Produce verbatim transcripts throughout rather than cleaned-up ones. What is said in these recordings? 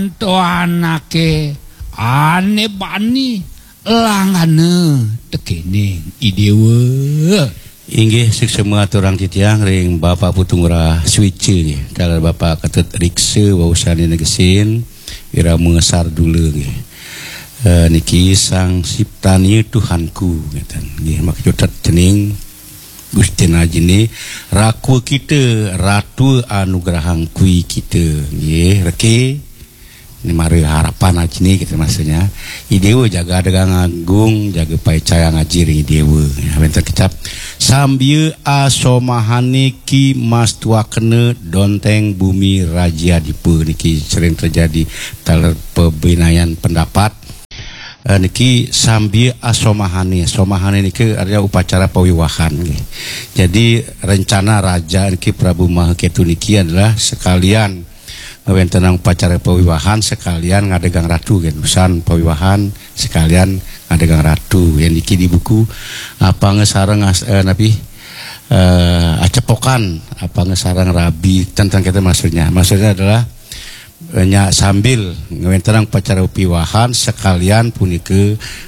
Ento anake ane bani langgana tekening I Dewa. Inggih, suksma aturang titiang ring Bapak Putu Ngurah Suica nggih. Taler Bapak Ketut Riksa wau sane negesin irama sardula nggih. Eh, niki Sang Siptania Tuhanku ngeten. Nggih, maka cutet cening Gustin Ajine, rakwa kita, ratu anugrahang kwi kita. Nggih, reke. Ini mara harapan Ajine kita maksudnya. I Dewa jaga adegang agung, jaga paicayang aji ring I Dewa. Ya, wenten kecap. Sambia asomahane ki mastuakena donteng bumi raja dipa niki sering terjadi taler pebinayan pendapat. Eh, niki sambia asomahane. Somahane niki artinya upacara pawiwahan nggih. Jadi rencana raja niki Prabu Maha Ketu niki adalah sekalian ngawentenang upacara pawiwahan, sekalian ngadegang ratu nggih. Usan pawiwahan sekalian ngadegang ratu. Yang niki di buku apanga sareng as-, eh, napi? Eh, acepokan, apanga sareng rabi, tentang kita maksudnya. Maksudnya adalah eh, nya sambil ngawentenang upacara piwahan sekalian punika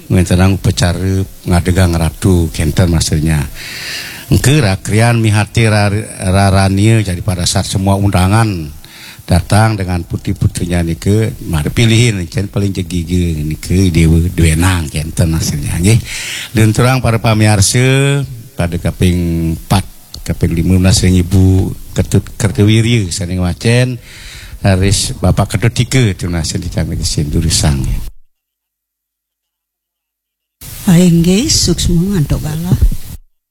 ngawentenang upacara ngadegang ratu kenten maksudnya. Engke rakrian mihati ra-, rarania jadi pada saat semua undangan datang dengan putri-putrinya nika, mari pilihin cen paling jegige nika dewa duenang kenten maksudnya nggih. Lunturang para pamiarsa pada kaping empat, kaping lima belas ring Ibu Ketut Kertawirya sane ngwacen, raris Bapak Ketut Tika tunas ring titiang niki sindur sang. Inggih, suksma antuk galah.